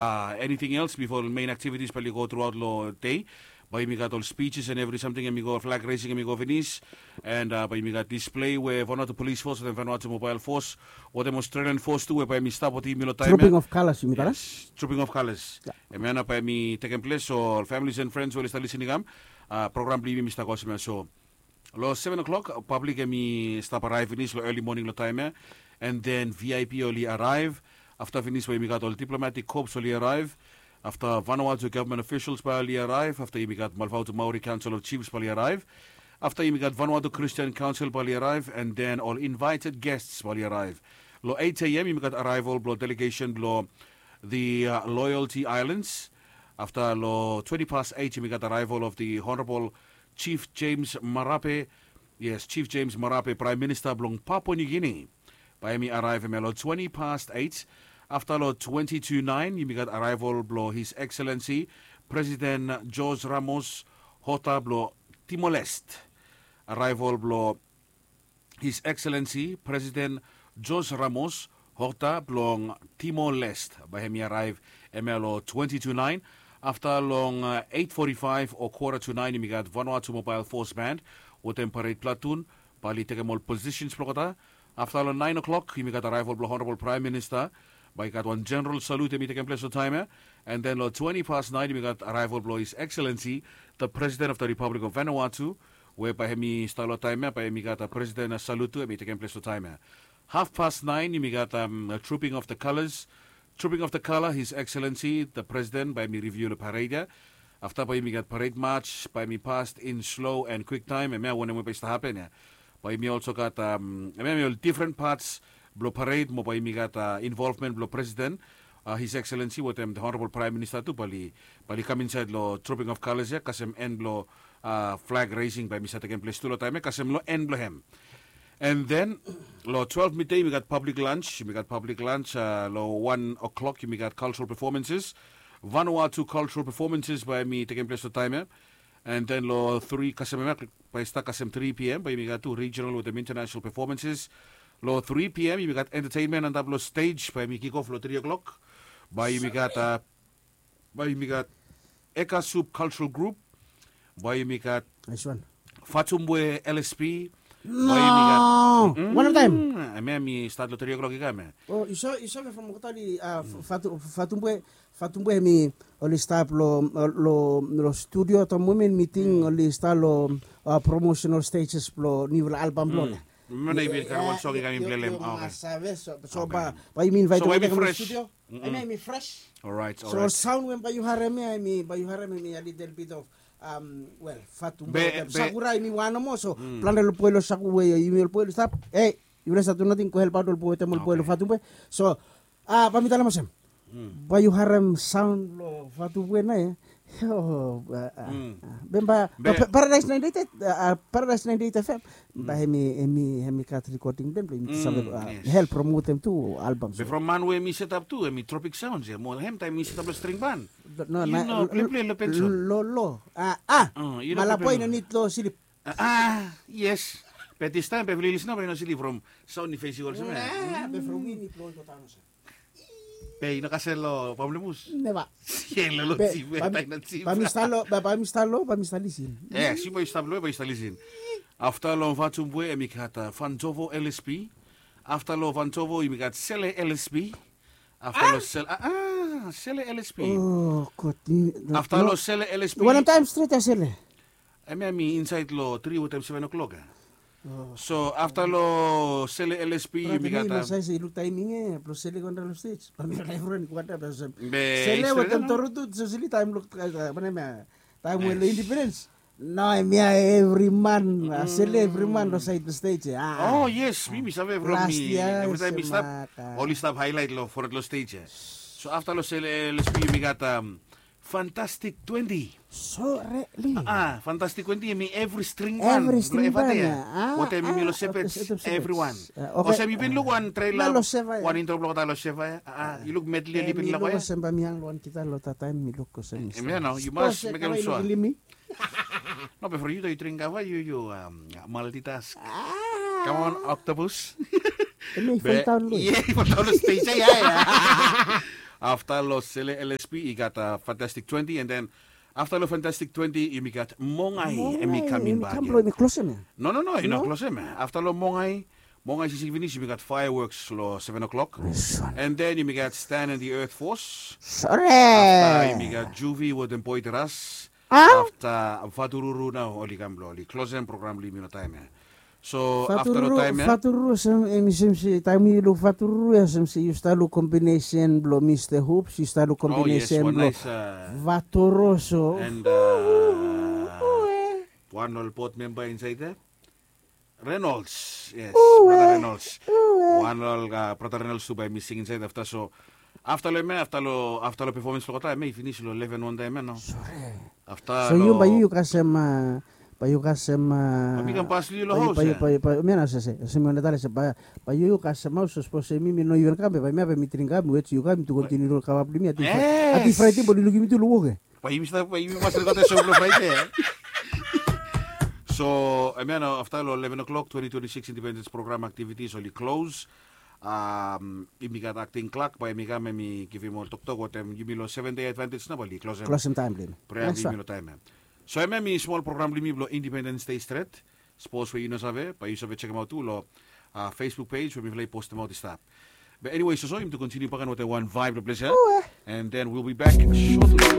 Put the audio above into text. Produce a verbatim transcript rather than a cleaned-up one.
Anything else before main activities bae oli go throughout long day? Bae yumi gat ol speeches and every something, hemi go flag raising, hemi go finis. And bae yumi gat display we Vanuatu Police Force wetem Vanuatu Mobile Force wetem Australian Force tu we bae hemi stap wetem yumi long taem ya. Trooping of Colours yumi talem. Trooping of Colours. Hemia nao bae hemi tekem ples, so ol families and friends we oli stap lisin i kam, program blong yumi hemi stap go olsem ya. So long seven o'clock, public hemi stap araev finis long early morning long taem ya. And then V I P oli araev. Afta finis bae yumi gat ol diplomatic corps oli araev. Afta Vanuatu government officials bae oli araev. Afta yumi gat Malvautu Maori Council of Chiefs bae oli araev. Afta yumi gat Vanuatu Christian Council bae oli araev, and then ol invited guests bae oli araev. Long eight a.m. yumi gat arrival blong delegation blong the Loyalty Islands. Afta long twenty past eight yumi gat arrival of the Honorable Chief James Marape. Yes, Chief James Marape, Prime Minister blong Papua New Guinea. Bae hemi araev hemia long twenty past eight. Afta long twenty to nine yumi gat arrival blong His Excellency President George Ramos Horta blong Timor-Leste. Arrival blong His Excellency President George Ramos Horta blong Timor-Leste bae hemi araev hemia long twenty to nine. Afta long eight forty-five o quarter to nine yumi gat Vanuatu Mobile Force Band wetem parade platoon bae oli tekem ol positions blong olgeta. Afta long nine o'clock yumi gat arrival blong Honorable Prime Minister. Bae i gat wan general salute hemi tekem ples long taem ya. And then long twenty past nine yumi gat arrival blong His Excellency the President of the Republic of Vanuatu, we bae hemi stap long taem ya, bae yumi gat president salute tu hemi tekem ples long taem ya. Half past nine yumi gat Trooping of the Colours. Trooping of the Colour, His Excellency the President bae hemi review long parade ya. Afta bae yumi gat parade march bae hemi past in slow and quick time, hemia wanem we bae i stap hapen ya. Bae yumi also gat, hemia hemi ol different parts blong parade mo bae yumi gat involvement blong President, His Excellency wetem the Honorable Prime Minister tu bae oli kam insaed long Trooping of Colours ya kasem en blong flag raising bae hemi save tekem ples tu long taem ya kasem long en blong hem. And then long twelve midday yumi gat public lunch, yumi gat public lunch. Long one o'clock yumi gat cultural performances. Vanuatu cultural performances bae hemi tekem ples long taem ya. And then long three kasem hemia bae i stap kasem three p.m. bae yumi gat tu regional wetem international performances. Long three p.m. yumi gat entertainment antap long stage bae hemi kick off long three o'clock. Bae yumi gat bae yumi gat Eka Soup Cultural Group. Bae yumi gat Fatumbwe L S P. Bae yumi gat, one at a time. Hemia hemi stap long three o'clock i kam ya. O yu save from olgeta oli Fatumbwe, Fatumbwe hemi oli stap long studio at the moment, mi ting oli stap long promotional stages blong niufala album blong oli. Memba nao i bin karem wan song i kam i plelem. Save, so bae yumi invite olgeta i kam long studio. Hemia hemi fresh. So sound we bae yu harem ya hemi, bae yu harem hemi a little bit of, well, Fatumbwe, Sakura hemi wan nomo, so plante ol boi long Sakura we yumi ol boi oli stap, e, yufala save du nating, go helpaot ol boi wetem ol boi long Fatumbwe. So bae mi talem olsem, bae yu harem sound blong Fatumbwe nao ya. Io, bambae Paradise ninety-eight, Paradise ninety-eight F M. Bae hemi, hemi gat recording blong hem blong yumi tu save help promotem tu album. Be from man we hemi setap tu hemi Tropic Sounds ya, mo hem taem hemi setap long string band. No, yu no play, play long pencil. Lo, lo. A, a. Malabo i no nid long slip. A, yes. Be distaem be flili snow bae yu no slip from sound i fes yu olsem ya. Be from win i blong i go daon olsem. Be yu no kasem long pamplemus? Neva. Bae mi stap long, bae mi stap long, bae mi stap lisin. Yes, yu bae yu stap long, bae yu stap lisin. Afta long Fatumbwe hemi gat Fantovo L S P. Afta long Fantovo yumi gat Sele L S P. Afta long Sele, a, a, Sele L S P. O God. Afta long Sele L S P. Wanem taem stret ya Sele? Hemia hemi insaed long tri o taem seven o'clock ya. So afta long Sele L S P yumi gat, mi no save se i luk taeming ya blong Sele i go antap long stage. Bae mi laef ran i go antap ya olsem. Be Sele wetem Toru tu, so Sele taem long, wanem ya, taem we long Independence. Nao hemia evri man, Sele evri man long saed long stage ya. O yes, mi mi save from mi, evri taem mi stap, oli stap highlight long fored long stage ya. So afta long Sele L S P yumi gat Fantastic Twenty. So really? A, Fantastic Twenty hemi evri string band. Evri string band ya. Wetem yumi long Sepets, evriwan. Olsem yu bin luk wan trailer, wan intro blong olgeta long Seva ya. A, yu luk medley oli bin luk ya. Olsem bae mi hang long wan gita long that taem mi luk olsem. Hemia nao yu mas mekem sua. No, be from yu tu yu dring kava, yu, yu multitask. Come on, octopus. Hemi i foldaon lo. Ia, i foldaon lo stage ya, ia. Afta long Sele L S P i gat Fantastic twenty, and then afta long Fantastic twenty yumi gat Mongai, em i kam in bak. No, no, no, i no klosem ya. Afta long Mongai, Mongai siksik finis, yumi gat Fireworks long seven o'clock. And then yumi gat Stan and the Earth Force. Afta yumi gat Juvi wetem Boy Teras. Afta Vatururu nao oli kam blong oli klosem program blong yumi long taem ya. So afta long taem ya, Vatururu, olsem em i sem se taem yu luk Vatururu ya, olsem se yu stap luk kombinesen blong Mista Hoops, yu stap luk kombinesen blong Vatoroso. And wan ol bot memba insaed ya, Reynolds. Yes, brata Reynolds. Wan ol brata Reynolds tu bae mi sing insaed afta. So afta long em ya, afta long pefomans blong olgeta em ya i finis long leven wantaem ya no. Afta so yu bae yu kasem, bae yu kasem, bae mi kam pas long yu long haos ya. Bae mi nao sese olsem yu wantem talem se bae yu kasem haos, sapos se mi mi no even kam be bae mi ya bae mi dring kam, mi wet se yu kam tu kontiniu long kava blong mi. Ati Fraede bae oli lukim yu tu long wok ya. Bae yumi stap, bae yumi mas olgeta so blong Fraede ya. So em ya nao afta long eleven o'clock twenty twenty-six Independence Program activities oli klos. Yumi gat akting klak bae em i kam, em i givim ol toktok wetem yumi long seven day advantage nao bae oli klosem klosem taem blong yumi. Prea blong yumi long taem ya. So em ya em i smol program blong yumi blong Independence Day stret. Sapos we yu no save bae yu save sekemaot tu long Facebook pej we mifala i postemaot i stap. Be eniwe, soso yumi tu kontiniu baken wetem wan vaeb long ples ya. And then we'll be back shortly.